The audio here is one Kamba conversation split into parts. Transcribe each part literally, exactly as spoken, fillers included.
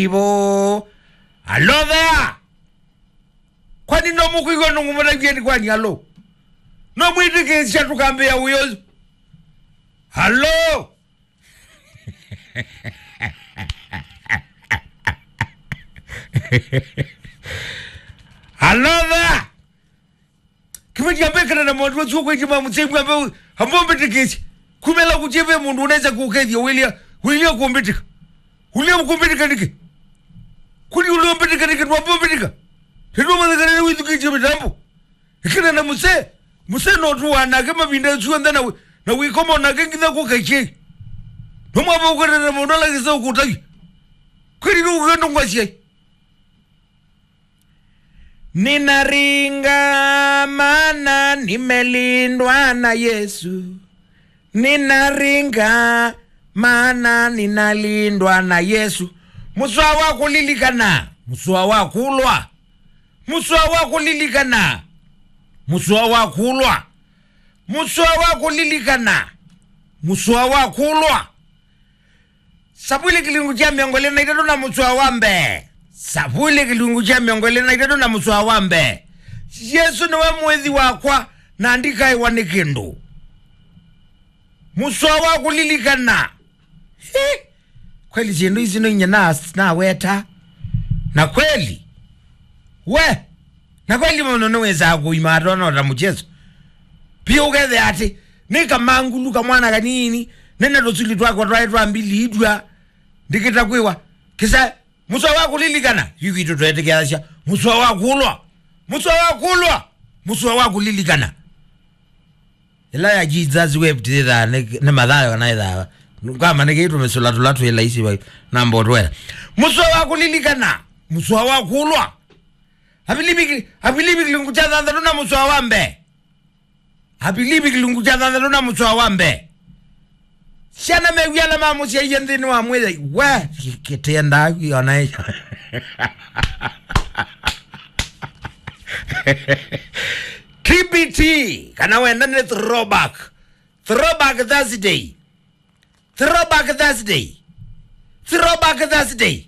Ivo. Alo there. Kwani no mũkwĩw'a nũng'ũmũtavye nĩ kwani alo? No mwĩtĩkĩsya tũkambĩa wĩa ũyũ. Alo. Alo there. Kĩveti ambekana na mũndũ ũcio kwĩti ma mũsemi ambe ambombĩtĩkĩsye. Kumela kutie ve mũndũ unaweza kukethia wilia wilia kumbĩtĩka. Wilia kumbĩtĩka nĩkĩ? Kuli ulia mbĩtĩka nĩkĩ ndwambombĩtĩka? Nĩtũmathĩkana nĩ wĩthukĩtie mĩtambo. Ĩkĩna na mũsee, mũsee no tũwa nake mavinda syonthe na wĩ-, na wĩkoma nake nginya kũkaikyei. No mwamba ũkatana mũndũ ala kĩsa ũkũtavya. Kweli nĩ ũkũkenda ngwasyai. Ninaringa maana nimelindwa na Yesu. Ninaringa maana ninalindwa na Yesu. Mũsoa wa kũlilikana, mũsoa wa kũlwa. Mũsoa wa kũlilikana, mũsoa wa kũlwa. Mũsoa wa kũlilikana, mũsoa wa kũlwa. Savuli kĩlungu kya mĩongo ĩlĩ na itatũ na mũsoa wa mbee. Savuli kĩlungu kya mĩongo ĩlĩ na itatũ na mũsoa wa mbee. Yesu nĩwe mũĩthi wakwa, na ndikaĩwa nĩ kĩndũ. Mũsoa wa kũlilikana. Hi! Kweli syĩndũ ici no inya na, naweta. Na kweli. We! Na kweli mũndũ nĩwĩsaa kũima atona ta mũchezo. Pia ũkethĩa atĩ, nĩ kamangulu kamwana kanini, nĩ na tũsuli twakwa twaĩ twa mbili itwa, ndikĩta kwĩwa. Kĩsa, mũsoa wa kũlilikana, yu kwitũ twetĩkĩasya, mũsoa wa kũlwa, mũsoa wa kũlwa, mũsoa wa kũlilikana. Ĩla ya Jesus wept ĩthaa nĩ, nĩ Mathayo kana ĩthaa. Kama nĩ kĩitũ mĩsũla tũla twĩ laisi vai, na mbotwela. Mũsoa wa kũlilikana, mũsoa wa kũlwa. Avilivi, Avilivi kĩlungu kya thanthatũ na mũsoa wa mbee. Avilivi kĩlungu kya thanthatũ na mũsoa wa mbee. Syana mew'e ala mamũsyaie nthĩnĩ wa mwĩai. We, kĩtenda ona ĩ. T B T, kana wenda nĩ throwback. Throwback Thursday. Throwback Thursday. Throwback Thursday.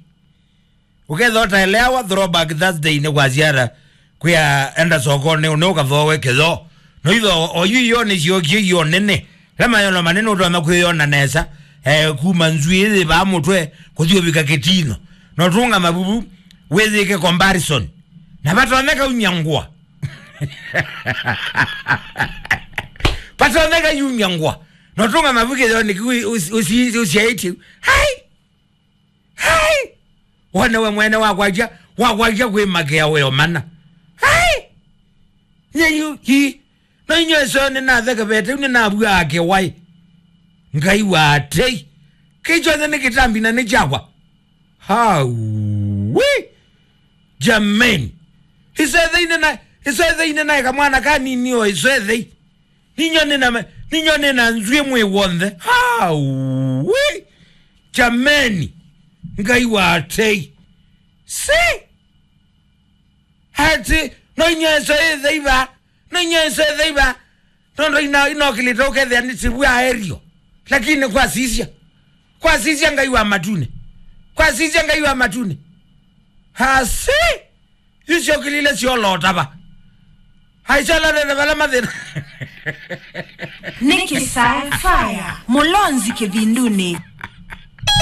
Ũkethĩa ũtaeleawa, Throwback Thursday nĩ kwasya ata? Kwĩa enda sokonĩ, ũne ũkathooe kĩthoo. No itho, oyu io nĩ syokie io nene. Ĩla mayono manene ũtonya kwĩyona nesa, eh, kuma nzw'ĩĩ yĩvaa mũtwe, kũthi ũvika kĩtino. No tũngama vuvu, wĩyĩke comparison. Na vatonyeka unyangwa. Vatonyeka yunyangwa. No tũngama vuvu kĩthoo nĩkĩ ũsi-, ũsi-, ũsyaĩtye. Hai! Hai! Wone we mwene wakwakya, wakwakya kwĩmakĩa weo mana. Hai! Nye yu, hi. No inyo ĩseo nĩnathekevete, nĩnavua akĩwaĩ. Ngai wa atei. Kĩchonthe nĩ kĩtambi na nĩ kyakwa. Hauwi! Jameni. Ĩsethei nĩna, ĩsethei nĩnaĩ kamwana kanini o ĩsethei. Ninyo nĩna, ninyo nĩna nzw'ĩ mwĩ w'onthe. Hauwi! Jameni! Ngai wa atei. Si! Ati, no inyo ĩseo ĩtheiva. No inyo ĩseo ĩtheiva. Nondo ina, inokĩlĩte ũkethĩa nĩ sivua aerio. Lakini kwasisya. Kwasisya Ngai wa matune. Kwasisya Ngai wa matune. Hasi! Isyokilile syolotava. Aisyolotete vala mathĩna. Nĩ Kĩsae Fire, Mũlonzi Kĩvindunĩ.